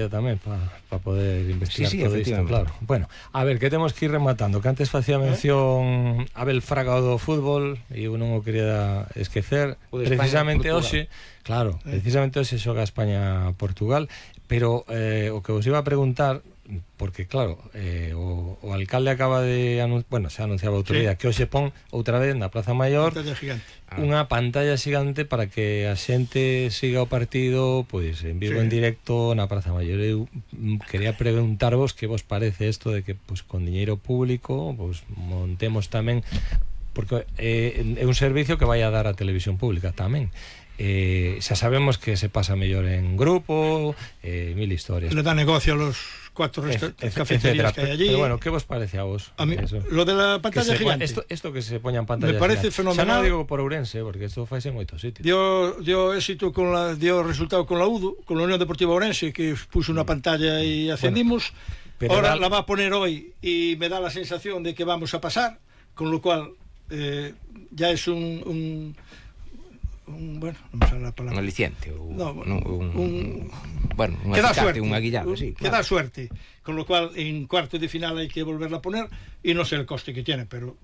tamén para poder investigar sí, todo isto, claro. Bueno, a ver, que temos que ir rematando, que antes facía mención Abel Fraga do fútbol e eu non o quería esquecer. Precisamente hoxe, claro, precisamente hoxe xoga España-Portugal, pero o que vos iba a preguntar, porque claro, o alcalde acaba de se anunciaba outro día que hoxe pon outra vez na Praza Maior unha pantalla xigante para que a xente siga o partido pois en vivo, en directo na Praza Maior. Eu quería preguntarvos que vos parece isto de que pois con diñeiro público pois montemos tamén, porque é un servicio que vai a dar a televisión pública tamén. Xa sabemos que se pasa mellor en grupo, mil historias. Le da negocio a los 4 cafeterías que hay allí. Pero bueno, ¿qué vos parece a vos? A mí, lo de la pantalla gigante. Esto que se poña en pantalla me parece gigante. fenomenal. Xa non digo por Ourense, porque isto faise en moitos sitios. Dio éxito dio resultado con la UDO, con la Unión Deportiva Ourense, que puso una pantalla y ascendimos. Bueno, ahora la va a poner hoy y me da la sensación de que vamos a pasar, con lo cual ya es bueno, non me sale la palabra. Un aliciente que da suerte, un aguillado, sí, claro. Que da suerte, con lo cual en cuarto de final hay que volverla a poner y no sé el coste que tiene, pero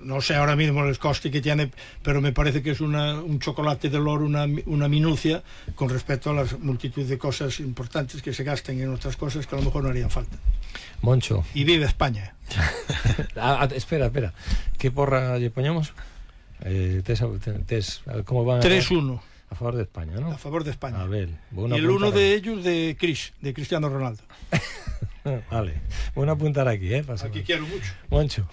no sé ahora mismo el coste que tiene, pero me parece que es un chocolate de oro, una minucia con respecto a las multitud de cosas importantes que se gasten en otras cosas que a lo mejor no harían falta. Moncho. Y vive España. Espera, ¿qué porra lle poñamos? ¿Cómo van? 3-1 a favor de España, ¿no? A favor de España. A ver, y el uno de ellos de Cristiano Ronaldo. Vale, voy a apuntar aquí, aquí quiero mucho. Moncho.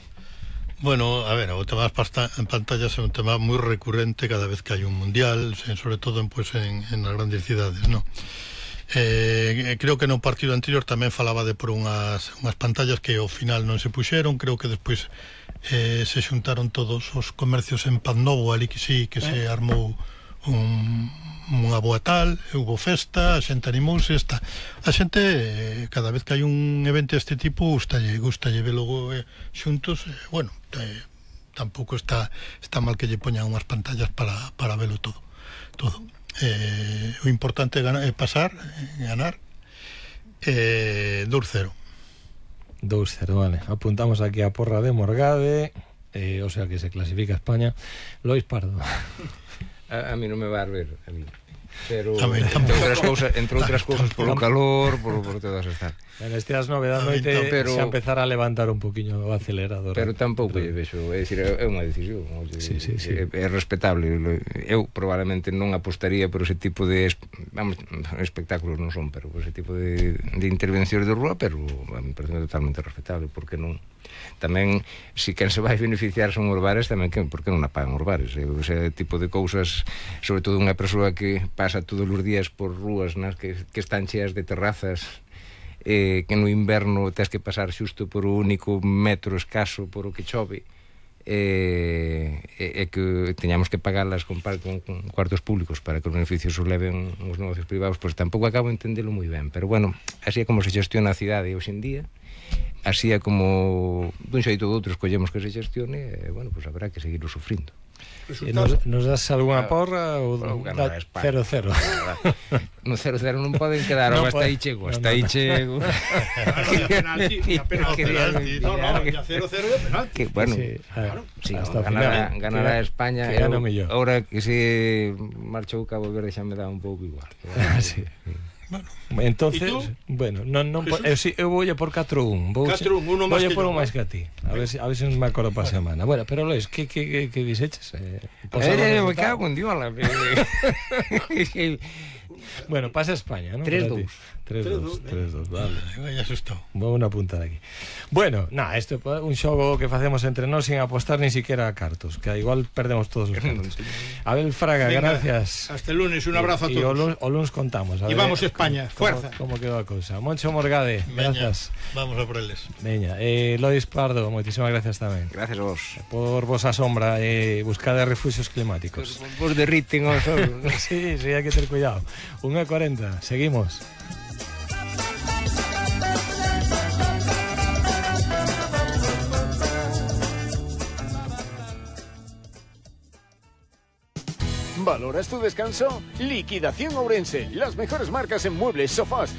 Bueno, a ver, o tema en pantallas é un tema moi recurrente cada vez que hai un mundial, sobre todo en as grandes cidades, ¿no? Creo que no partido anterior tamén falaba de por unhas pantallas que ao final non se puxeron. Creo que despois se xuntaron todos os comercios en Paz Novo ali, que sí, que se armou unha boa tal, hubo festa, a xente animouse, a xente cada vez que hai un evento deste tipo gustalle velo xuntos. Bueno, tampouco está mal que lle poñan unhas pantallas para velo todo. O importante é pasar, ganar. 2-0, vale. Apuntamos aquí a porra de Morgade, o sea que se clasifica España. Lois Pardo. A mí non me va a ver, a mí. Pero entre outras cousas por o calor, por todas estas. En estas 9 da noite xa empezar a levantar un poquinho o acelerador. Pero tampouco lle vexo, é dicir, é unha decisión. Sí. É respetable. Eu probablemente non apostaría por ese tipo de espectáculos, non son, pero por ese tipo de intervencións de rúa, pero me parece totalmente respetable, porque non. Tamén, se quen se vai beneficiar son os bares, tamén por que non apagan os bares? Ese tipo de cousas, sobre todo unha persoa que pasa todos os días por rúas que están cheas de terrazas, que no inverno tens que pasar xusto por o único metro escaso por o que chove, e que teñamos que pagalas con cuartos públicos para que os beneficios os leven os negocios privados, pois tampouco acabo de entendelo moi ben. Pero bueno, así é como se gestiona a cidade hoxe en día, así é como dun xeito ou outro escollemos que se gestione, e bueno, pois habrá que seguirlo sufrindo. Nos das algunha porra ou 0-0? No 0-0 non poden quedar, hasta aí chego. A penalti. No, ya 0-0 é penalti. Bueno, ganará España. Ahora que se marchou Cabo Verde xa me dá un pouco igual. Sí. Entonces, bueno, eu voulle por 4-1. Voulle por un máis que a ti. A ver se me acordo para a semana. Bueno, pero Lois, que dixeches? Me cago en Diola. Bueno, pasa España, ¿no? 3-2. 3-2, vale. Vaya asustado. Vou a apuntar aquí. Bueno, isto é un xogo que facemos entre nós sin apostar ni siquiera a cartos, que igual perdemos todos os cartos. Abel Fraga, gracias. Hasta el lunes, un abrazo a todos. O lunes contamos. Y vamos España, fuerza. Como quedou a cousa. Moncho Morgade, gracias. Vamos a por eles. Veña, Lois Pardo, moitísimas gracias tamén. Gracias a vos. Por vos a sombra, buscade refuxios climáticos. Vos derriten o sol. Sí, hai que ter cuidado. 1:40, seguimos. ¿Valoras tu descanso? Liquidación Ourense. Las mejores marcas en muebles, sofás,